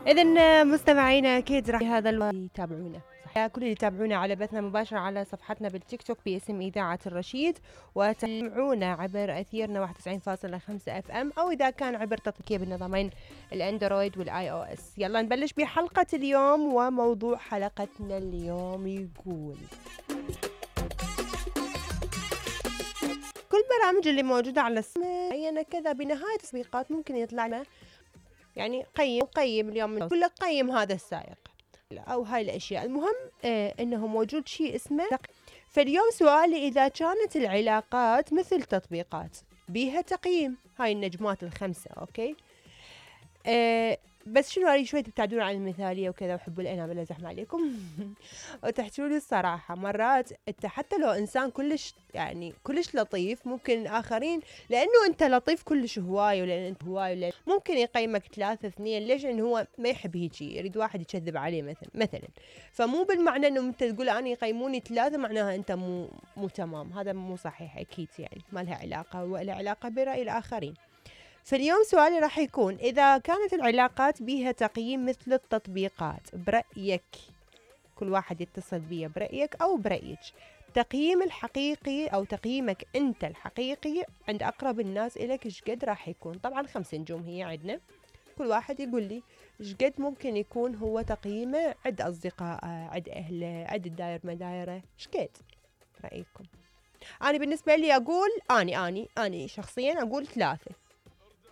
إذن مستمعينا أكيد راح هذا يتابعونا صح، كل اللي يتابعونا على بثنا مباشر على صفحتنا بالتيك توك باسم إذاعة الرشيد، وتابعونا عبر أثيرنا 91.5 اف ام، أو إذا كان عبر تطبيقية بالنظامين الأندرويد والآي أو اس. يلا نبلش بحلقة اليوم، وموضوع حلقتنا اليوم يقول: كل برامج اللي موجودة على معينة كذا بنهاية تطبيقات ممكن يطلع لنا يعني قيم اليوم، يقول لك قيم هذا السائق او هاي الاشياء. المهم انه موجود شيء اسمه فاليوم سؤالي: اذا كانت العلاقات مثل تطبيقات بيها تقييم، هاي النجمات الخمسة، اوكي، بس شنو اريد شوي تبتعدون عن المثاليه وكذا، وحبوا الانام لا زحمه عليكم وتحكوا لي الصراحه. مرات انت حتى لو انسان كلش يعني كلش لطيف، ممكن الاخرين لانه انت لطيف كلش هواي، ولان انت هواي ولان ممكن يقيمك 3-2. ليش؟ انه هو ما يحب هيجي، يريد واحد يكذب عليه مثلا. فمو بالمعنى انه انت تقول انا يقيموني 3 معناها انت مو تمام، هذا مو صحيح اكيد، يعني ما لها علاقه، ولا علاقه براي الاخرين. فاليوم سؤالي راح يكون: إذا كانت العلاقات بيها تقييم مثل التطبيقات، برأيك، كل واحد يتصل بيه برأيك أو برأيك، تقييم الحقيقي أو تقييمك أنت الحقيقي عند أقرب الناس إليك إيش قد راح يكون؟ طبعا 5 نجوم هي عندنا، كل واحد يقول لي إيش قد ممكن يكون هو تقييمه عند أصدقائه، عند أهله، عند الداير مدايره، إيش قد رأيكم؟ أنا بالنسبة لي أقول أني شخصيا أقول 3.